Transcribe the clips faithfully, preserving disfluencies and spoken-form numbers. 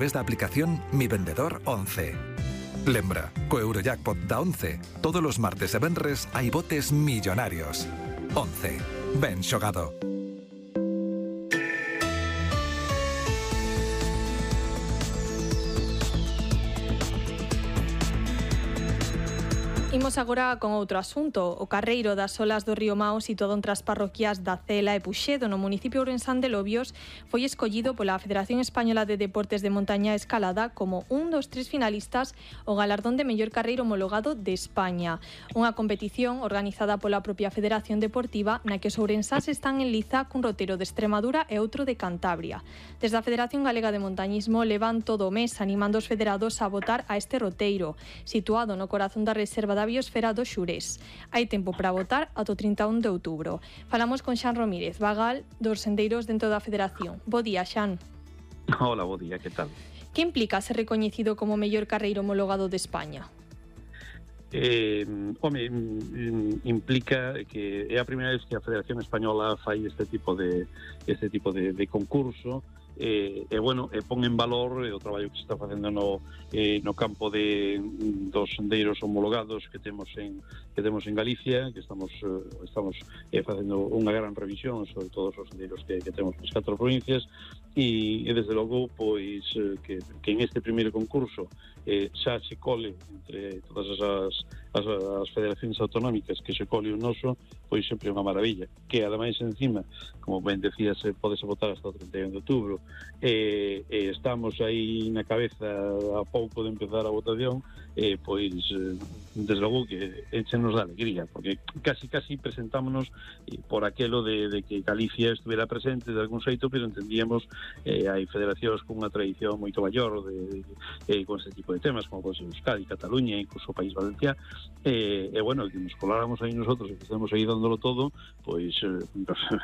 través da aplicación Mi Vendedor once. Lembra, co Eurojackpot da once, todos os martes e venres hai botes millonarios. once. Ben xogado. Imos agora con outro asunto. O carreiro das olas do río Mao, situado entre as parroquias da Cela e Puxedo, no municipio ourensán de Lobios, foi escollido pola Federación Española de Deportes de Montaña e Escalada como un dos tres finalistas ao galardón de mellor carreiro homologado de España. Unha competición organizada pola propia Federación Deportiva na que os ourensáns están en liza cun roteiro de Extremadura e outro de Cantabria. Desde a Federación Galega de Montañismo levan todo o mes animando os federados a votar a este roteiro, situado no corazón da reserva da biosfera do Xurés. Hai tempo para votar ata o trinta e un de outubro. Falamos con Xan Romírez, vagal dos sendeiros dentro da Federación. Bo día, Xan. Hola, bo día, que tal? Que implica ser recoñecido como mellor carreiro homologado de España? Eh, home, implica que é a primeira vez que a Federación Española fai este tipo de este tipo de, de concurso. E, e bueno, e pon en valor o traballo que se está facendo no, eh, no campo de, dos sendeiros homologados que temos en que temos en Galicia, que estamos eh, estamos eh, facendo unha gran revisión sobre todos os sendeiros que, que temos nas catro provincias e, e desde logo pois eh, que, que en este primeiro concurso eh, xa se cole entre todas as, as, as federacións autonómicas que se cole o noso, pois sempre é unha maravilla, que ademais encima, como ben decías, podese votar hasta o trinta e un de outubro. E, e estamos aí na cabeza a pouco de empezar a votación, e pois desde logo que enchenos de alegría, porque casi casi presentámonos por aquelo de, de que Galicia estuviera presente de algún xeito, pero entendíamos eh, hai federacións con unha tradición moito maior de, de, de, con este tipo de temas, como pode ser Euskadi, Cataluña, incluso o País Valenciá, e, e bueno, que nos coláramos aí nosotros e que estamos aí dándolo todo, pois eh,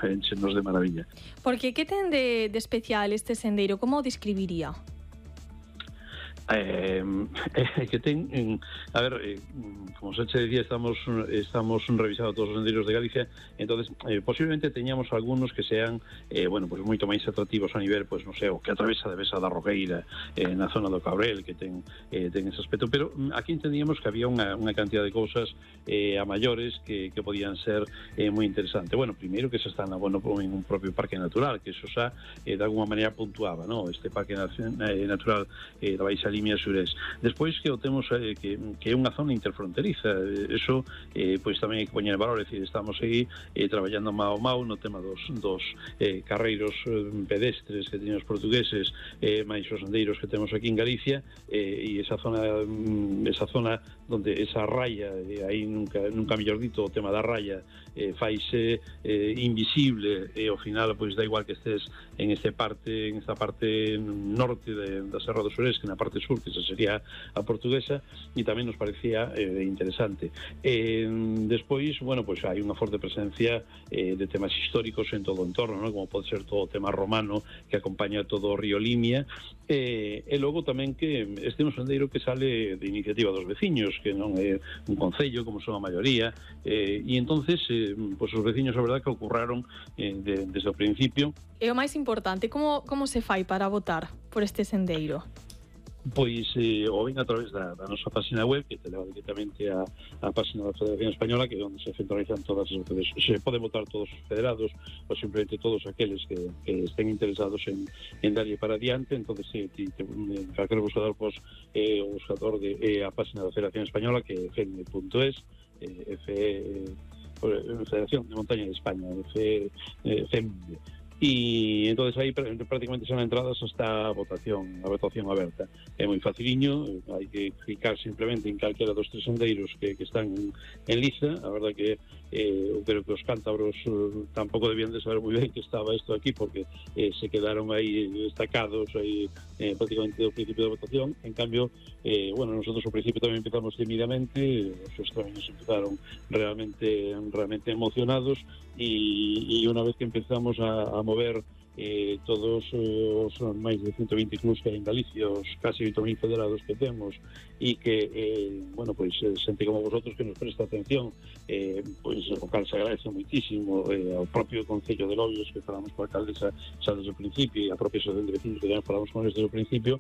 enchenos de maravilla. Porque que ten de, de especial este sendeiro? Como o describiría? Eh, eh, que ten en, a ver, eh, como se che decía, estamos estamos revisando todos os sendeiros de Galicia, entonces eh, posiblemente teñamos algunos que sean eh, bueno, pues moito máis atractivos a nivel, pues non sei, o que atravesa de Besa da Roqueira eh, na zona do Cabrel, que ten eh, ten ese aspecto, pero aquí entendíamos que había unha, unha cantidad de cousas eh, a maiores que, que podían ser eh, moi interesante. Bueno, primeiro que se está na, bueno, en un propio parque natural, que eso xa eh, de alguma maneira puntuaba, ¿no? Este parque eh, natural eh, da Baixa Limia Xurés. Despois que o temos eh, que, que é unha zona interfronteriza, eso eh, pois tamén hai que poñer en valor, é dicir, estamos aí eh, traballando mao mao no tema dos, dos eh, carreiros eh, pedestres que teñen os portugueses, eh, máis os sendeiros que temos aquí en Galicia, eh, e esa zona esa zona donde esa raya, eh, aí nunca, nunca mellor dito, o tema da raya eh, faise eh, invisible e ao final pois da igual que estés en este parte, en esta parte norte de, da Serra do Xurés, que na parte sur, que esa sería a portuguesa, e tamén nos parecía eh, interesante. Eh, despois, bueno, pois hai unha forte presencia eh, de temas históricos en todo o entorno, ¿no? Como pode ser todo o tema romano que acompaña todo o río Limia, eh, e logo tamén que este é un sendeiro que sale de iniciativa dos veciños, que non é un concello como son a maioría, eh, e entonces eh, pois os veciños a verdade que ocurraron eh, de, desde o principio. E o máis importante, como, como se fai para votar por este sendeiro? Pois eh, o ven a través da, da nosa página web, que te leva directamente a, a página da Federación Española, que é onde se centralizan todas as veces. Se pode votar todos os federados ou simplemente todos aqueles que, que estén interesados en, en darlle para adiante. Entonces eh, ti, te, calquer buscador, pues, eh, o buscador de eh, a página da Federación Española, que é f m punto es, eh, F, eh, Federación de Montaña de España, F, eh, F M. E entonces aí prácticamente son entradas hasta a votación, a votación aberta. É moi faciliño, hai que clicar simplemente en calquera dos tres sendeiros que, que están en, en liza. A verdade que eh, eu creo que os cántabros eh, tampouco debían de saber moi ben que estaba isto aquí, porque eh, se quedaron aí destacados aí eh, prácticamente do principio da votación. En cambio, eh, bueno, nosotros ao principio tamén empezamos tímidamente, os extraños empezaron realmente realmente emocionados, e, e unha vez que empezamos a, a mover eh, todos os máis de ciento vinte clubs que hai en Galicia, os casi oito mil federados que temos, e que, eh, bueno, pois, xente como vosotros que nos presta atención, eh, pois, o cal se agradece muitísimo, eh, ao propio Concello de Lobios, que falamos con a alcaldesa xa desde o principio, e a propia asociación de vecinos que tamén falamos con desde o principio,